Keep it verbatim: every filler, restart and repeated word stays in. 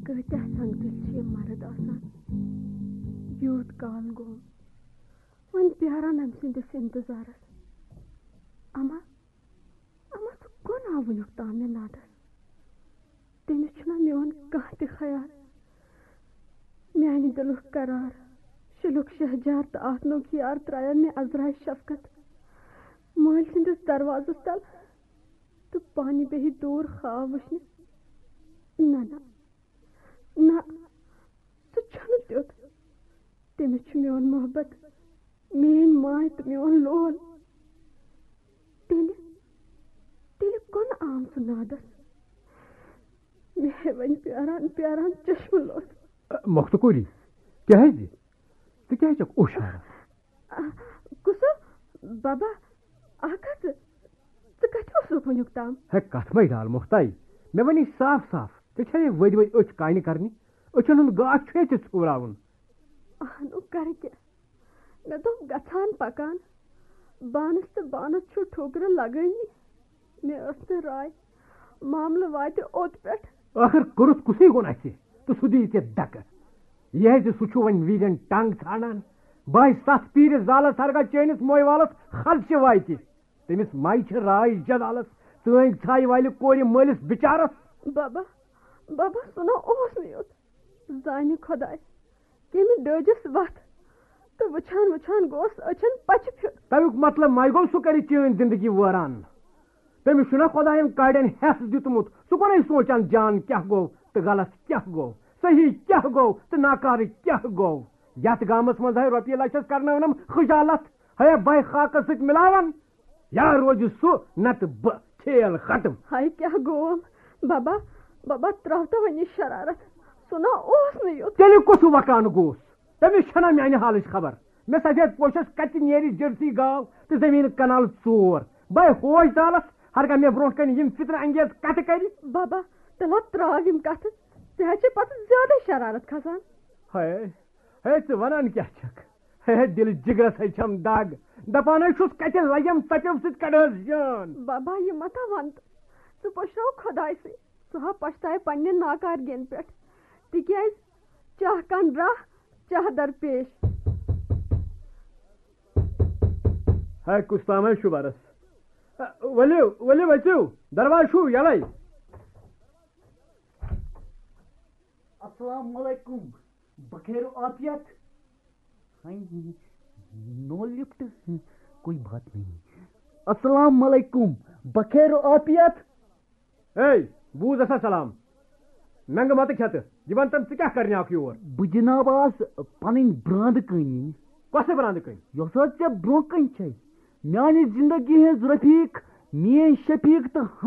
کۭتیاہ سنگدِل چھِ یِم مرد آسان۔ یوٗت کال گوٚو وۄنۍ پیاران أمۍ سٕنٛدِس انتظارس۔ اما، اما، سُہ کون آو وٕنیُک تام مےٚ نادس؟ تٔمِس چھُنہ میون کانٛہہ تہِ خیال۔ میانہِ دِلُک قرار، شِلُک شہجار تہٕ آتنُک یار ترٛایَن مےٚ عذرایہِ شفقت مٲلۍ سٕنٛدِس دروازس تل تہٕ پانہِ بیٚہہِ دوٗر خواب وٕچھنہِ۔ نہ، نہ، نہ، سُہ چھُنہٕ تیُتھ۔ تٔمِس چھُ میون محبت، میٲنۍ ماے تہٕ میون لول۔ تیٚلہِ، تیٚلہِ کۄنہٕ آم سُہ نادس؟ مےٚ ہے وۄنۍ پیاران پیاران چشمہٕ لوٚتھ۔ مۄختہٕ کوٗری، کیٛازِ؟ ژٕ کیٛازِ چھکھ اوٚش ہاران؟ آ، کُسو؟ بابا، اکھ ہتھ، ژٕ کتہِ اوسُکھ وٕنیُک تام؟ ہے، کتھ مے ڈال مۄختاے، مےٚ ونے صاف صاف، ژےٚ چھے ؤدۍ ؤدۍ أچھ کانہِ کرنہِ، أچھن ہُنٛد گاش چھُے ژےٚ ژھیوراوُن۔ اہنُو، کرٕ کیٛاہ؟ مےٚ دوٚپ گژھان پکان، بانس تہٕ بانس چھُ ٹھوکرٕ لگٲنی۔ مےٚ ٲس نہٕ راے، معاملہٕ واتہِ اوٚت پٮ۪ٹھ۔ ٲخٕر کوٚرُتھ کُسٕے گۄناہ ژےٚ تہٕ سُہ دِیہِ ژےٚ دکہٕ؟ یہِ ہیٚکہِ سُہ چھُ وۄنۍ ویٖرٮ۪ن ٹنگ ژھانڈان۔ بہٕ ہاے ستھ پیٖرِ زالس ہرگاہ چٲنِس موے والس خدشہِ واتہِ۔ تٔمِس ماے چھِ راے جلالس، ژٲنٛگۍ ژھایہِ والہِ کورِ مٲلِس بِچارس۔ بابا، بابا، سُہ نہ اوس نہٕ یُتھ۔ زانہِ خۄداے، کٔمۍ ڈٲجِس وَتھ تہٕ وٕچھان وٕچھان گوس أچھن پچہِ پھیُر۔ تَمیُک مطلب مَے گوٚو سُہ کَرِ چٲنۍ زِندگی وٲران۔ تٔمِس چھُنہ خۄدایَن کاڑٮ۪ن ہٮ۪س دیُتمُت، سُہ کۄنَے سونٛچان جان کیٛاہ گوٚو تہٕ غلط کیٛاہ گوٚو، صحیح کیٛاہ گوٚو تہٕ ناکارٕ کیٛاہ گوٚو۔ یَتھ گامَس منٛز ہاے رۄپیہِ لَچھَس کَرنٲونَم خجالت، ہاے بَے خاکَس سۭتۍ مِلاوان۔ یا روزِ سُہ نتہٕ بہٕ، کھیل ختم۔ ہاے کیٛاہ گوم؟ بابا، بابا، ترٛاو تو وۄنۍ یہِ شرارت۔ سُہ نہ اوس نہٕ یُتھ۔ تیٚلہِ کُس وکان گوس؟ تٔمِس چھَنا میانہِ حالٕچ خبر؟ مےٚ سفید پوشس کتہِ نیرِ جرسی گاو تہٕ زٔمیٖن کنال ژور؟ بے ہوش دالس، ہرگاہ مےٚ برونٛٹھ کنہِ یِم فتنہٕ انگیز کتھٕ کرِ۔ بابا، تیٚلہِ ہا ترٛاو یِم کتھٕ، ژےٚ ہا چھے پتہٕ زیادے شرارت کھسان۔ ہے، ہے، ژٕ ونان کیٛاہ چھکھ؟ ہے، دِلہٕ جِگرس ہے چھَم دگ۔ دپان ہے چھُس، کتہِ لگٮ۪م ژَپٮ۪و سۭتۍ کڑہس جان۔ بابا، یہِ مہ تھاو ونتہٕ۔ ژٕ پٔشراو خۄدایسٕے۔ سُہ ہا پشتاوِ پننہِ ناکارگین پٮ۪ٹھ۔ تِکیازِ چاہ کن راہ، چاہ در پیش۔ ہے، کُس تام ہے چھُ برس۔ ؤلِو، ؤلِو، أژِو، دروازٕ چھُو یَلَے۔ السلام علیکم۔ بخیر و عافیت؟ ہاں، نو لفٹ، کوئی بات نہیں۔ السلام علیکم۔ بخیر و عافیت؟ ہے، بوز ہسا سلام۔ ننگہٕ متہٕ کھٮ۪تہٕ۔ یہِ وَن تَم، ژٕ کیٛاہ کرنہِ آکھ یور؟ بہٕ جناب آس پنٕنۍ براندٕ کٲنی۔ کۄسہٕ براندٕ کٲنی؟ یۄس حظ ژےٚ برونٛہہ کنہِ چھے۔ میانہِ زندگی ہٕنٛز رفیق، میٲنۍ شفیق تہٕ